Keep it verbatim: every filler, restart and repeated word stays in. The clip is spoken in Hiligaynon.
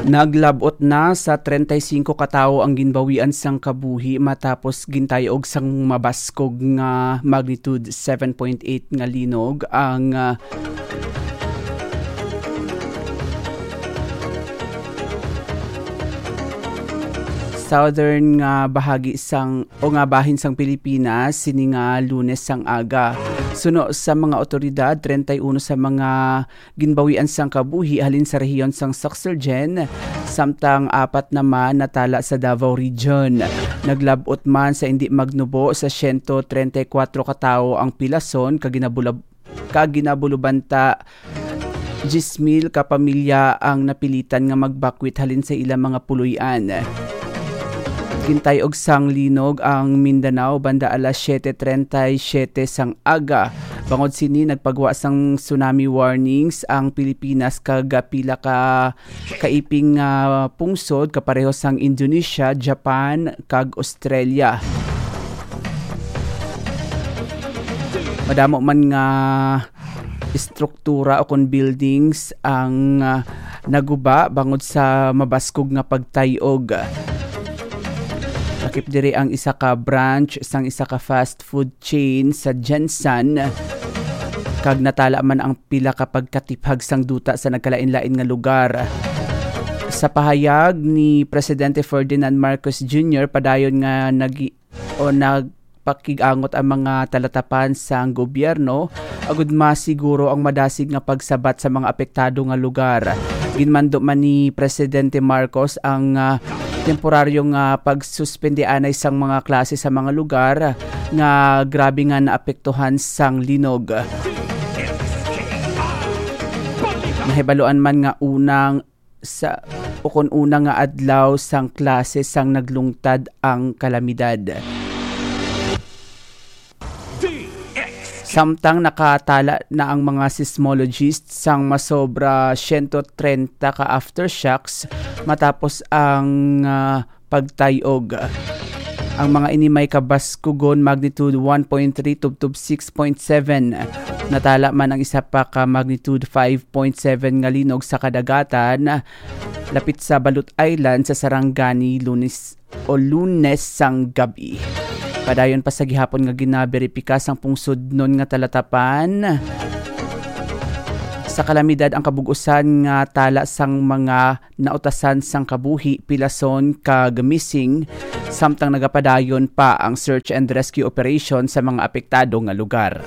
Naglab-ot na sa treinta y cinco ka tawo ang ginbawian sang kabuhi matapos gintayog sang mabaskog nga magnitude seven point eight nga linog ang, ah, southern nga bahagi sang, o nga bahin sang Pilipinas, sini nga Lunes sang aga. Suno sa mga otoridad, treinta y uno sa mga ginbawian sang kabuhi halin sa rehiyon sang Suxurgen, samtang apat naman natala sa Davao Region. Naglab-ot man sa indi magnubo sa siyento treinta y kuwatro ka tawo ang pilason kag ginabulab-, kag ginabulubanta diyes mil ka pamilya ang napilitan nga magbakwit halin sa ilang mga puloy-an. Gintay-og sang linog ang Mindanao banda alas siete treinta y siete sang aga. Bangod sini, nagpagwa sang tsunami warnings ang Pilipinas kag pila ka kaiping nga pungsod kapareho sang Indonesia, Japan, kag Australia. Madamo man nga estruktura o kon buildings ang, ah, naguba bangod sa mabaskog nga pagtay-og. Lakip diri ang isa ka branch sang isa ka fast food chain sa Gensan, kag natala man ang pila ka pagkatiphag sang duta sa nagkalain-lain nga lugar. Sa pahayag ni Presidente Ferdinand Marcos Junior, padayon nga nag-, o nagpakig-angot ang mga talatapan sang gobyerno agud masiguro ang madasig nga pagsabat sa mga apektado nga lugar. Ginmando man ni Presidente Marcos ang, ah, temporaryo nga pagsuspende anay sang mga klase sa mga lugar nga grabe nga naapektuhan sang linog. Mahibaluan man nga unang sa, o kon una nga adlaw sang klase sang naglungtad ang kalamidad. Samtang nakatala na ang mga seismologists sang masobra siyento treinta ka aftershocks matapos ang, ah, pagtay-og. Ang mga ini may kabaskugon magnitude one point three tubtob six point seven. Natala man ang isa pa ka magnitude five point seven nga linog sa kadagatan, lapit sa Balut Island sa Sarangani, Lunes o Lunes sang gabi. Padayon pa sa gihapon nga ginaberipika sang pungsodnon nga talatapan sa kalamidad ang kabug-usan nga tala sang mga nautasan sang kabuhi, pilason, kag missing, samtang nagapadayon pa ang search and rescue operation sa mga apektado nga lugar.